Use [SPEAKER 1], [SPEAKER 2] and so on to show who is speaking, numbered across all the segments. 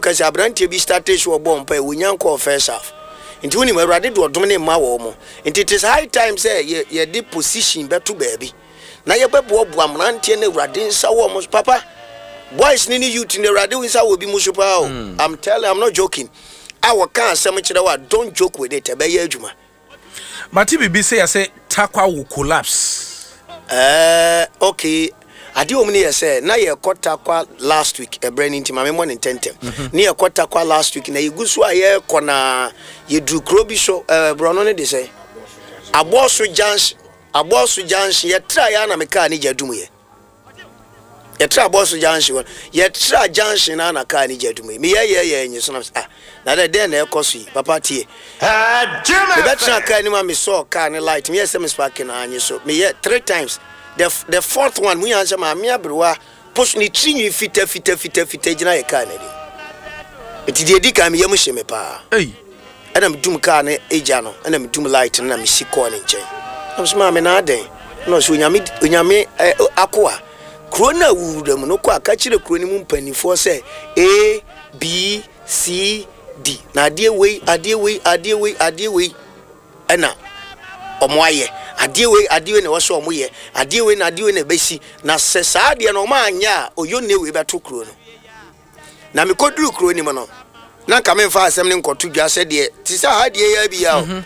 [SPEAKER 1] Ka sɛ aberanteɛ bi startee so ɔbɔɔ mpaeɛ, wɔnya nkɔɔ first half. Nti wonim, Awurade de ɔdom no mma wɔn mo. Nti it is high time sɛ yɛ, yɛde position bɛto baabi na yɛbɛboaboa mmeranteɛ no Awurade nsa wɔ wɔn so. Papa, boys no ne youth no, Awurade nsa wɔ bi mu so paa o. I'm telling, I'm not joking. A wɔka asɛm kyerɛ wo a, don't joke with it, ɛbɛyɛ adwuma.
[SPEAKER 2] Mate biribi sɛ yɛse Tarkwa will collapse.
[SPEAKER 1] Ɛɛɛ okay, adeɛ wɔ mu ne yɛ sɛ na yɛkɔ Tarkwa last week, ɛberɛ no nti ma memmɔ no ntɛntɛm. Ne yɛkɔ Tarkwa last week na yɛgu so a yɛrekɔ na yɛduru kuro bi so, ɛɛ borɔno no de sɛn? Abɔso junction, Abɔso junction, yɛtraeɛ ara na me kaa ne gya dumuiɛ. Yɛtra bɔs junction hɔ yɛtra junction na na kaa ne gya dum yi meyɛyɛyɛ nye so na ah na dɛ dɛn na ɛkɔ so yi papa tie mebɛtena kaa anim a mesɔɔ kaa ne light meyɛ sɛ mesparke na anye so meyɛ three times the the fourth one mu yɛn sɛ maame aberewa poso ne tiri nwi fita fita fita fita gyina yɛ kaa n'anim nti deɛ edi kan meyam hye me paa. Ɛna me dum car no gya no ɛna me dum light no na me si kɔɔ ne nkyɛn na me sɛ maame na adɛn ɛna ɔsɛ onyame onyame ɛ akoa kuro no a wuwura mu no kɔ a ka kyerɛ kuro no mu mpanimfoɔ sɛ A B C D na adeɛ wei adeɛ wei adeɛ wei adeɛ wei ɛna wɔn ayɛ adeɛ wei adeɛ wei na ɛwɔ sɛ wɔn yɛ adeɛ wei na adeɛ wei na ɛbɛsi na sɛ saa adeɛ no wɔn anyɛ a oyonne wei bɛto kuro no. Na mekoduruu kuro no mu no, na nka memfa asɛm no nkɔto dwa sɛdeɛ te sɛ ha deɛ yɛ bi a o. Mhm.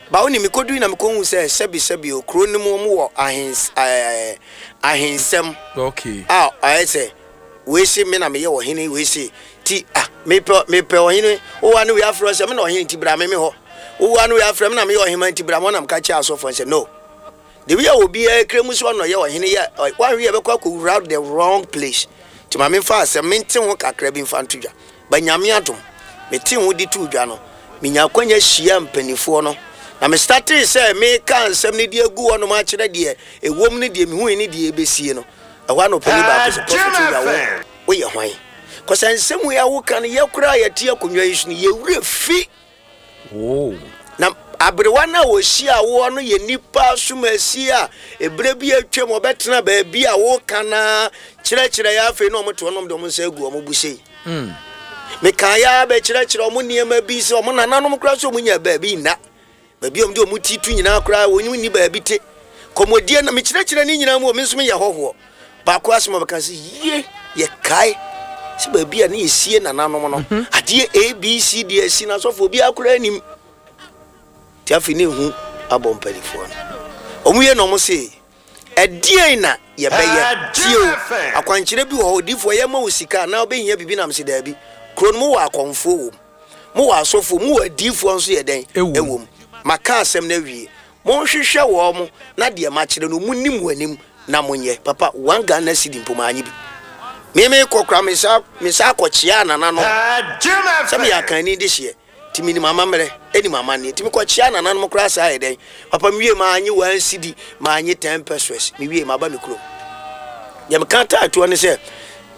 [SPEAKER 1] Ba wo ne mekodui na mekɔhu sɛ sɛbi sɛbi o kuro no mu wɔn wɔ ahens ɛɛ ahensɛm.
[SPEAKER 2] Okay.
[SPEAKER 1] A ayɛ sɛ wei se me na meyɛ ɔhene wei se ti ah mepɛ mepɛ ɔhene wowa ne wei afrɛ sɛ me na ɔhene nti bra me me hɔ wowa ne wei afrɛ me na meyɛ ɔhema nti bra me hɔ na meka kyerɛ asɔfoɔ sɛ no. The way a obiara kura mu sɛ ɔna ɔyɛ ɔhene yɛ wanhwɛ yɛ bɛkɔ akɔwura the wrong place nti ma memfa asɛm mente ho kakra bi mfa nto dwa ba Nyame adom mete ho de too dwa no menya akwanya hyia mpanifoɔ no na me startee sɛ meka nsɛm no de agu hɔnom akyerɛ deɛ ɛwom ne deɛ mehui ne deɛ ɛbɛsie no ɛhɔ a na ɔpani baako sɛ Prophet Wura wo woyɛ hwan kɔsɛ nsɛm wei a woka no yɛ koraa yɛte akonnwa yi so no yɛwura fi Na aberewa no a ɔhyiaa woɔ no yɛ nnipa asomasi a ɛberɛ bi atwam ɔbɛtena baabi a woka no ara kyerɛkyerɛ yɛ afei na wɔte hɔ nom de wɔn nsa agu wɔn bo sei. Mm. Mekaa yɛ ara bɛkyerɛkyerɛ wɔn nneɛma bi sɛ wɔn nananom koraa sɛ wɔn nya baabi nna. Baabi a wɔn de wɔn ti to nyinaa koraa wɔn nni baabi te. Kɔmɔdie na mekyerɛkyerɛ ne nyinaa mu wɔ me nso meyɛ hɔhoɔ. Baako asɛm a ɔbɛka sɛ, Yie, yɛkae sɛ baabi a ne yɛsie nananom no, mhm. adeɛ A, B, C, D asi no asɔfoɔ obiara koraa nim. Nti afei ne ehu abɔ mpanimfoɔ no. Wɔn wie na wɔn se, ɛdeɛn na yɛbɛyɛ? Tie o, akwankyerɛ bi wɔ hɔ, odiifoɔ yɛma wo sika anaa wobɛhia biribi nam se daabi. Kuro no mowɔ akɔmfoɔ wɔ mu, mowɔ asɔfoɔ, mowɔ adiifoɔ nso yɛ dɛn? Ɛwɔ mu. Maka asɛm no awie. Monhwehwɛ wɔn na deɛ makyerɛ no monni mo anim na monyɛ. Papa, one Ghana cedi mpo manye bi. Me mekɔ koraa me san me san kɔkyeaa nananom sɛ meyɛ Akanni dehyeɛ nti menim amammerɛ nim amanneɛ nti mekɔkyeaa nananom koraa saa yɛ dɛn. Papa mewie manye one cedi manye ten pesewas mewie maba me kurom. Deɛ meka taa toɔ ne sɛ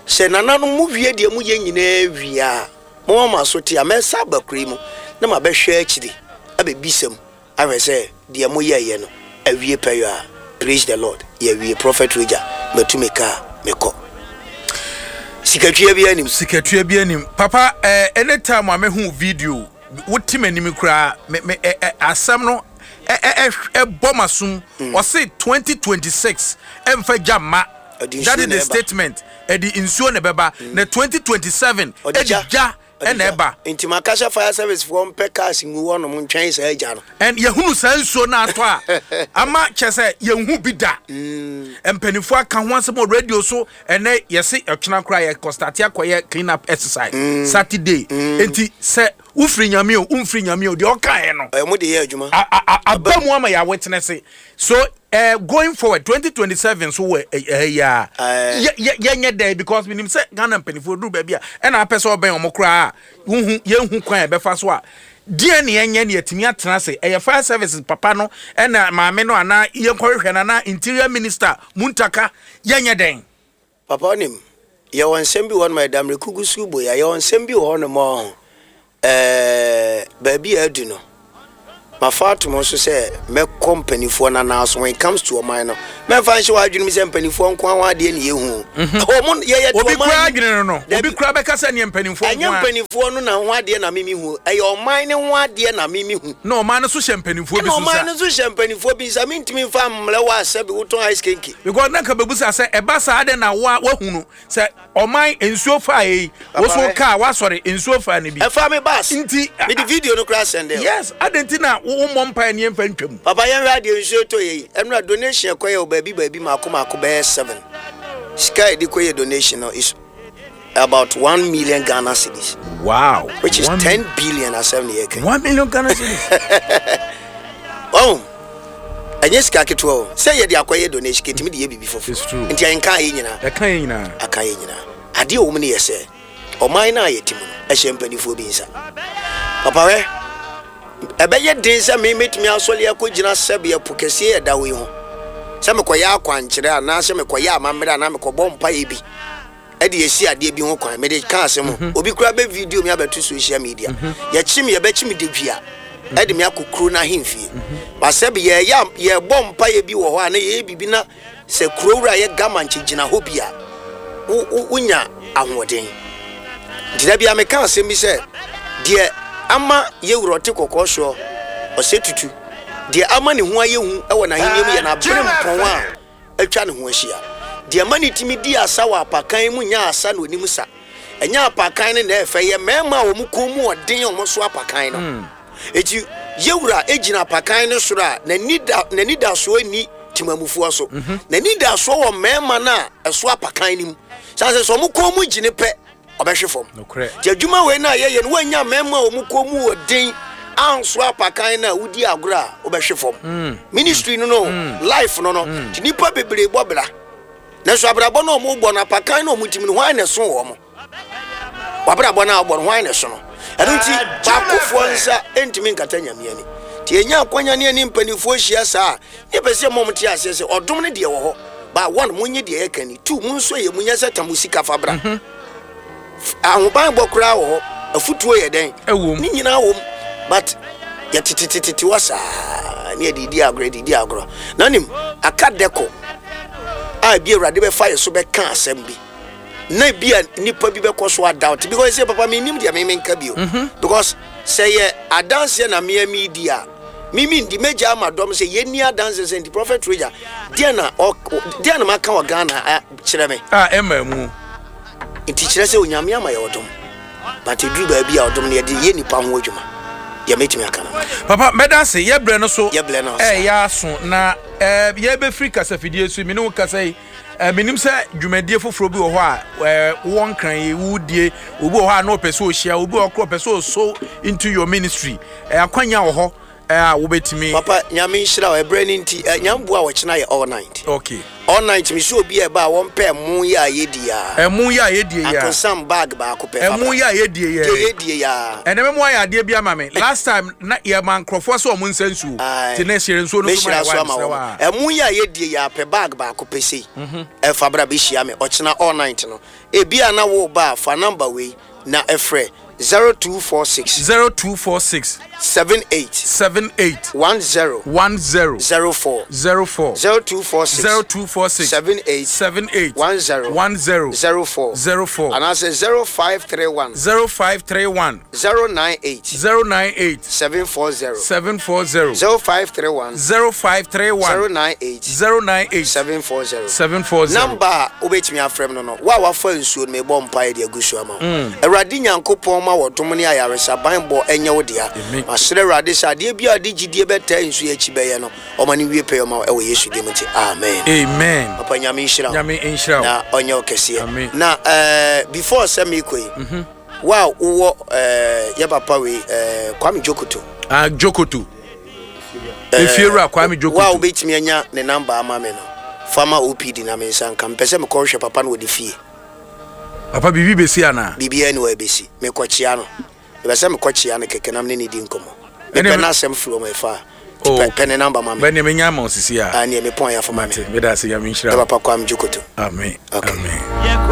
[SPEAKER 1] sɛ nananom mo wie deɛ moyɛ nyinaa wie a momma mo aso te a mɛsa aba kuro yi mu na mabɛhwɛ akyiri abɛbisa mu ahwɛ sɛ deɛ mo yɛɛyɛ no awie pɛyɔ a praise the Lord yɛawie prophet Roger matu me car mekɔ sikatua biara nim.
[SPEAKER 2] Sikatua biara nim papa eh, anytime a mehu video wote m'anim koraa me me eh, eh, asɛm no eh, eh, eh, ɛbɔ m'asom mm. ɔse 2026 ɛmfa gya mma that is the statement ɛde nsuo na ɛbɛba mm. na 2027 ɛde gya
[SPEAKER 1] ɛna ɛba. Nti maka sɛ fire service foɔ mpɛ cars ngu hɔ nom ntwɛn saa gya no.
[SPEAKER 2] And yɛhunu saa nsuo no atɔ a ama kyerɛ sɛ yɛnhu bi da. Mpanimfoɔ aka ho asɛm wɔ radio so ɛnɛ yɛse ɔkyena koraa yɛkɔ starte akɔyɛ clean up exercise Saturday. Nti sɛ wofiri Nyame o womfiri Nyame o deɛ ɔkaeɛ no.
[SPEAKER 1] Ɔmo de yɛ adwuma.
[SPEAKER 2] Aba mu ama yɛ awitness. So eh, going forward 2027 so wɔ ɛha yi a yɛnyɛ dɛn because menim sɛ Ghana mpanimfoɔ duru baabi a ɛna apɛ sɛ ɔbɛn wɔn koraa a wohu yɛnhu kwan a ɛbɛfa so a deɛ ne yɛnyɛ ne yɛtumi atena ase ɛyɛ fire services papa no ɛna maame no anaa yɛnkɔhwehwɛ no anaa interior minister Muntaka yɛnyɛ dɛn.
[SPEAKER 1] Papa wonim, yɛwɔ nsɛm bi wɔ hɔnom a ɛda mmerɛku gu so bɔ yi a, yɛwɔ nsɛm bi wɔ hɔnom a ɔho, ɛɛ, baabi a adu no, mafa ato mo so sɛ mɛkɔ mpanimfoɔ no anan so when it comes to ɔman no, Mɛmfa nhyɛ w'adwene mu sɛ mpanimfoɔ nko ara ho adeɛ na yɛhu o. Wɔn yɛyɛ
[SPEAKER 2] Obi
[SPEAKER 1] ɔman
[SPEAKER 2] koraa
[SPEAKER 1] yi-
[SPEAKER 2] adwene no no,
[SPEAKER 1] Dabi.
[SPEAKER 2] obi koraa bɛka sɛ neɛ mpanimfoɔ
[SPEAKER 1] Ɛnyɛ
[SPEAKER 2] nko ara.
[SPEAKER 1] mpanimfoɔ no na ho adeɛ na mimi hu, ɛyɛ ɔman no ho adeɛ na mimi hu.
[SPEAKER 2] Na ɔman no so hyɛ mpanimfoɔ bi
[SPEAKER 1] Ɛna
[SPEAKER 2] so
[SPEAKER 1] ɔman
[SPEAKER 2] nsa.
[SPEAKER 1] no nso hyɛ mpanimfoɔ bi nsa, mentumi mfa mmrɛ wo a sɛbi wotɔn ice kenke.
[SPEAKER 2] Because na nka bɛbusa sɛ ɛba saa dɛn na wo a woahunu sɛ ɔman nsuo faa yei, wo
[SPEAKER 1] Papa
[SPEAKER 2] so
[SPEAKER 1] hwɛ.
[SPEAKER 2] kaa woasɔre nsuo faa no bi.
[SPEAKER 1] Ɛfaa me bus.
[SPEAKER 2] Nti,
[SPEAKER 1] Mede video no koraa sɛndee wo.
[SPEAKER 2] Yes, adɛn nti na wo wommɔ mpaeɛ ne yɛmfa ntwam?
[SPEAKER 1] Papa yɛnhwɛ adeɛ nsuo tɔ yɛ yi, ɛnora donation ɛkɔyɛ wɔ baabi baabi maako maako bɛyɛ seven. Sika a yɛde kɔyɛ donation no is about 1 million Ghana cedis. Which is 10 billion asɛm ne yɛka.
[SPEAKER 2] 1 million Ghana cedis.
[SPEAKER 1] Oh, ɛnyɛ sika ketewa o. Sɛ yɛde akɔyɛ donation kɛtumi de yɛ biribi foforɔ.
[SPEAKER 2] It's true.
[SPEAKER 1] Nti ɛnka yɛ nyinaa.
[SPEAKER 2] Ɛka yɛ nyinaa.
[SPEAKER 1] Aka yɛ nyinaa. Adeɛ a ɛwɔ mu no yɛ sɛ ɔman no a yɛte mu no ɛhyɛ mpanimfoɔ bi nsa. Papa hwɛ, ɛbɛyɛ den sɛ me mɛtumi asɔre akɔgyina sɛbeɛ po kɛseɛ ɛda hɔ yi ho sɛ mekɔyɛ akwankyerɛ anaasɛ mekɔyɛ amammerɛ anaa mekɔbɔ mpaeɛ bi ɛde esi adeɛ bi ho kwan. Mede ka asɛm o, obi koraa bɛ video mi abɛto social media, yɛkyi me, yɛbɛkyi me dedua ɛde me akɔ kuro no ahemfie. Basɛ bi yɛyɛ yɛbɔ mpaeɛ bi wɔ hɔ a na yɛyɛ biribi na sɛ kuro wura yɛ gama nkyɛ gyina hɔ bi a wo wo wonya ahoɔden. Nti da bia meka asɛm bi sɛ deɛ ama yɛwura ɔte kɔkɔɔ soɔ ɔsɛ tutu, deɛ ama ne ho ayɛ hu ɛwɔ n'ahenni mu yɛ n'abere mpɔn a atwa ne ho ahyia. Deɛ ma ne tumi di asa wɔ apakan mu nya asa na onim sa. Ɛnyɛ apakan no na ɛfɛ, yɛ mmarima a wɔn kɔn mu ɔden a wɔn so apakan no. Eti yɛwura egyina apakan no soro a n'ani da n'ani da soɔ ni temamufoɔ so. N'ani da soɔ wɔ mmarima no a ɛso apakan no mu. Sanni sɛ wɔn kɔn mu gyina pɛ, ɔbɛhwe fam.
[SPEAKER 2] Nokorɛ.
[SPEAKER 1] Nti adwuma wei no a yɛyɛ no, woanya mmarima a wɔn kɔn mu wɔ den anso apakan no a, wodi agorɔ a wobɛhwe fam. Ministry no, life no, nti nipa bebree bɔ bra, nanso abrabɔ no a wɔn bɔ no, apakan no a wɔn tim no, hwan na ɛso wɔn wabrabɔ no a wɔbɔ no, hwan na ɛso no? Ɛno nti baakofoɔ nsa ntumi nkata Nyame ani. Nti yɛnya akwanya ne ani mpanimfoɔ hyia saa a, ne yɛpɛ sɛ mmɔ te aseɛ sɛ ɔdom no deɛ wɔ hɔ ba. One, monyɛ deɛ yɛka ni. Two, mo nso yɛ munya sɛ tam sika fa bra. Ahobanbɔ koraa wɔ hɔ, afutuo yɛ dɛn?
[SPEAKER 2] Ɛwɔ mu.
[SPEAKER 1] Ne nyinaa wɔ mu, but yɛtetetetete hɔ saa ne yɛde di agorɔ, yɛde di agorɔ na nim aka dɛkɔ a ebi Awurade bɛfa yɛ so bɛka asɛm bi na ebi a nipa bi bɛkɔ so adoubt, because sɛ papa mi nim deɛ mi nka bio, because sɛ yɛ adanseɛ na mmea mi di a mimi ndi megya ama dɔm sɛ yɛnni adanseɛ sɛ nti Prophet Roger deɛ na ɔ deɛ na maka wɔ Ghana a, kyerɛ me.
[SPEAKER 2] A ɛma mu.
[SPEAKER 1] Nti kyerɛ sɛ Onyame ama yɛ ɔdom, but ɛduru baabi a ɔdom no yɛde yɛ nipa ho adwuma. Deɛ mɛtumi aka no.
[SPEAKER 2] Papa, mɛda ase. Yɛbrɛ no so.
[SPEAKER 1] Yɛbrɛ no so.
[SPEAKER 2] Ɛyɛ aso na yɛbɛfiri kasafidie so. Mene wo kasa yi, menim sɛ dwumadie foforɔ bi wɔ hɔ a wowɔ Nkran yi wodie. Obi wɔ hɔ a na ɔpɛ sɛ ɔhyia, obi wɔ hɔ korɔ ɔpɛ sɛ ɔso into your ministry, akwanya wɔ hɔ a wobɛtumi?
[SPEAKER 1] Papa, Nyame nhyira wo. Ɛberɛ no nti, Nyame boa a, wɔkyena yɛ all night. All night. Me sɛ obi a ɛba a wɔmpɛ ɛmo yɛ a yɛdi a.
[SPEAKER 2] Ɛmo yɛ a yɛdie yɛ a.
[SPEAKER 1] Akosam bag baako pɛ fa
[SPEAKER 2] ɛmo
[SPEAKER 1] bra.
[SPEAKER 2] Yɛ a yɛdie yɛ.
[SPEAKER 1] Deɛ yɛdie yɛ a.
[SPEAKER 2] Ɛnɛ mɛmo ayɛ adeɛ bi ama me. Last time na yɛma nkurɔfoɔ sɛ ɔmo nsa nsuo.
[SPEAKER 1] Aye.
[SPEAKER 2] Nti na ɛhyɛ nsuo no so ma
[SPEAKER 1] Mɛhyira
[SPEAKER 2] yɛ
[SPEAKER 1] so
[SPEAKER 2] wa
[SPEAKER 1] ama
[SPEAKER 2] mesrɛ
[SPEAKER 1] wɔn.
[SPEAKER 2] wa.
[SPEAKER 1] Ɛmo yɛ a yɛdie yɛ a, pɛ bag baako pɛ sei ɛfa bra bɛhyia me ɔkyena all night no. Ebi a na wo ba a, fa number wei na ɛfrɛ: 0246
[SPEAKER 2] 0246
[SPEAKER 1] 78
[SPEAKER 2] 78
[SPEAKER 1] 10
[SPEAKER 2] 10
[SPEAKER 1] 04.
[SPEAKER 2] 04.
[SPEAKER 1] 0246
[SPEAKER 2] 0246
[SPEAKER 1] 78
[SPEAKER 2] 78
[SPEAKER 1] 10
[SPEAKER 2] 10
[SPEAKER 1] 04.
[SPEAKER 2] 04.
[SPEAKER 1] Anaasɛ 0531
[SPEAKER 2] 0531
[SPEAKER 1] 098
[SPEAKER 2] 098
[SPEAKER 1] 740.
[SPEAKER 2] 740.
[SPEAKER 1] 0531
[SPEAKER 2] 0531
[SPEAKER 1] 098
[SPEAKER 2] 098
[SPEAKER 1] 740.
[SPEAKER 2] 740.
[SPEAKER 1] Number a wobɛtumi afrɛ m no, wo a wafa nsuo no, mebɔ mpaeɛ de agu so ama wo. Awurade Nyankopɔn ma wɔdom ne ayaresa banbɔ ɛnyɛ wo dea.
[SPEAKER 2] Amen.
[SPEAKER 1] Masrɛ Awurade sɛ adeɛ bi a ɔde gyidie bɛtaa nsuo akyi bɛyɛ no, ɔma no wie pɛyɛ ɔma wo ɛwɔ Yesu din mu nti, amen.
[SPEAKER 2] Amen.
[SPEAKER 1] Papa, Nyame nhyira wo.
[SPEAKER 2] Nyame nhyira wo.
[SPEAKER 1] Na ɔnyɛ wo kɛseɛ.
[SPEAKER 2] Amen.
[SPEAKER 1] Na before sɛ meekɔ yi, wo a wowɔ yɛ papa wei, Kwame Jokoto.
[SPEAKER 2] Ah, Jokoto, efiewura Kwame
[SPEAKER 1] Wo a
[SPEAKER 2] Jokoto.
[SPEAKER 1] Wobɛtumi anya ne number ama me no, fa ma OPD na me nsa nka. Mepɛ sɛ mekɔhwɛ papa no wɔ ne fie.
[SPEAKER 2] Papa, biribi bɛsi anaa?
[SPEAKER 1] Biribiara ni wɔ ɛbɛsi. Mekɔkyea no, mepɛ sɛ mekɔkyea no kɛkɛ na mene ne di nkɔmmɔ.
[SPEAKER 2] Ɛne
[SPEAKER 1] mepɛ n'asɛm firi ɔma ɛfa a. Nti pɛ ne number ma me.
[SPEAKER 2] Bɛneɛ menya ama wo sisi a.
[SPEAKER 1] Ah, neɛ mepɔn yɛ afa ma me.
[SPEAKER 2] Mate, meda ase. Nyame nhyira
[SPEAKER 1] ɛ
[SPEAKER 2] wo.
[SPEAKER 1] Papa Kwame Jokoto.
[SPEAKER 2] Amen.
[SPEAKER 1] Okay.
[SPEAKER 2] Amen.